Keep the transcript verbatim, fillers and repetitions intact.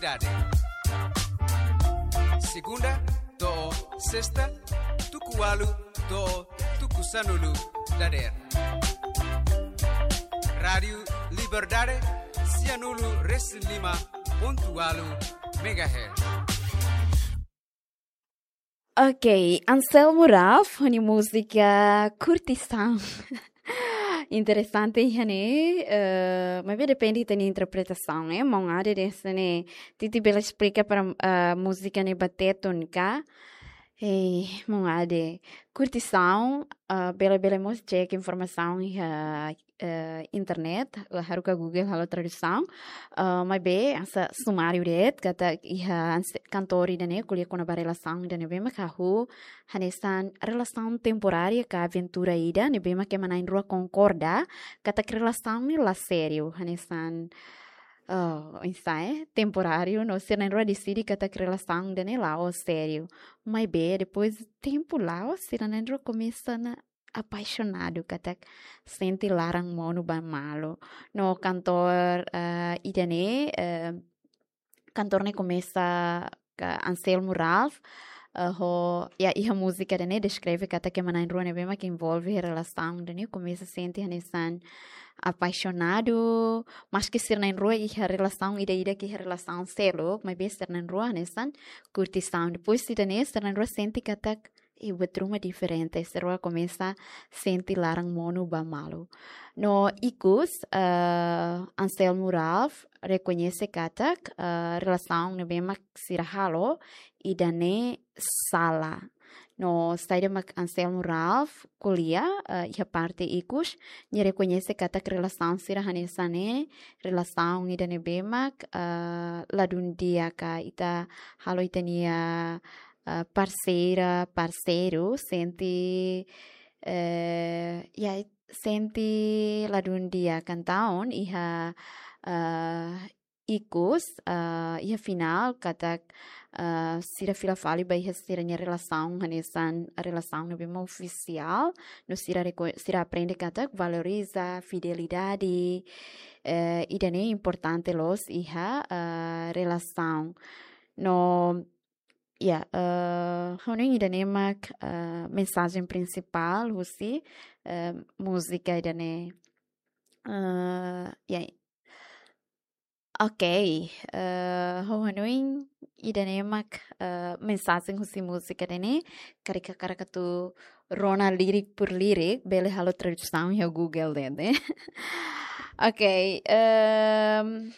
Dade. Segunda to'o sesta, tuku ualu to'o tuku sanulu dadeer. Rádiu Liberdade, sianulu resin lima pontu ualu megahertz. Ok, Anselmo Ralph, ho nia múzika Curtição. Interesante, iha ne'e, eh, maibé depende ita-nia interpretasaun, eh. Maun Ade dehan ne'e, Titi bele esplika para, eh, múzika ne'e ba Tetun ka? Eh, Maun Ade, Curtição, eh, bele, bele mós cek informasaun iha, eh, internet, eh, haruka Google halo tradusaun. Eh, maibé, hanesan sumáriu de'it, katak iha Anse-, kantór ida-ne'e, ko'alia kona-ba relasaun ida-ne'ebé mak hahú, hanesan relasaun temporária ka aventura ida, ne'ebé mak ema na'in-rua konkorda, katak relasaun ne'e la sériu, hanesan, oh, oinsá, eh, temporáriu, no sira na'in-rua deside katak relasaun ida-ne'e la'ós sériu. Maibé, depois tempu la'o, sira na'in-rua komesa ona apaixonadu, katak sente laran monu ba malu. No kantór, eh, ida-ne'e, eh, kantór ne'e komesa ka Anselmo Ralph, eh, ho, ya, iha múzika ida-ne'e deskreve katak ema na'in-rua ne'ebé mak envolve relasaun ida-ne'e komesa sente hanesan apaixonadu, maski sira na'in-rua iha relasaun ida-idak iha relasaun seluk, maibé sira na'in-rua hanesan curtição. Depois ida-ne'e sira na'in-rua sente katak, eh, buat ruma diferente, sira komesa sente laran monu ba malu. No ikus, eh, Anselmo Ralph rekoñese katak, eh, relasaun ne'ebé mak sira halo ida-ne'e sala. No saida mak Anselmo Ralph ko'alia, eh, iha parte ikus, nia rekoñese katak relasaun sira hanesan ne'e, relasaun ida-ne'ebé mak, eh, ladún di'ak ka ita halo ita-nia, eh, parseira, parseiru, sente, eh, ya, sente ladún di'ak, entaun iha, eh, ikus, eh, iha finál, katak, eh, sira fila fali ba iha sira-nia relasaun, hanesan relasaun ne'ebé mak ofisiál, no sira reko-, sira aprende katak valoriza fidelidade, eh, ida-ne'e importante loos iha, eh, relasaun. No, ya, eh, ha'u hanoin ida-ne'e mak, eh, mensajen prinsipál husi, eh, múzika ida-ne'e. Eh, ya. Ok, eh, ha'u hanoin ida-ne'e mak, eh, mensajen husi múzika ida-ne'e, karik hakarak atu rona lirik por lirik, bele halo tradusaun iha Google de'it, eh. Ok, ehm,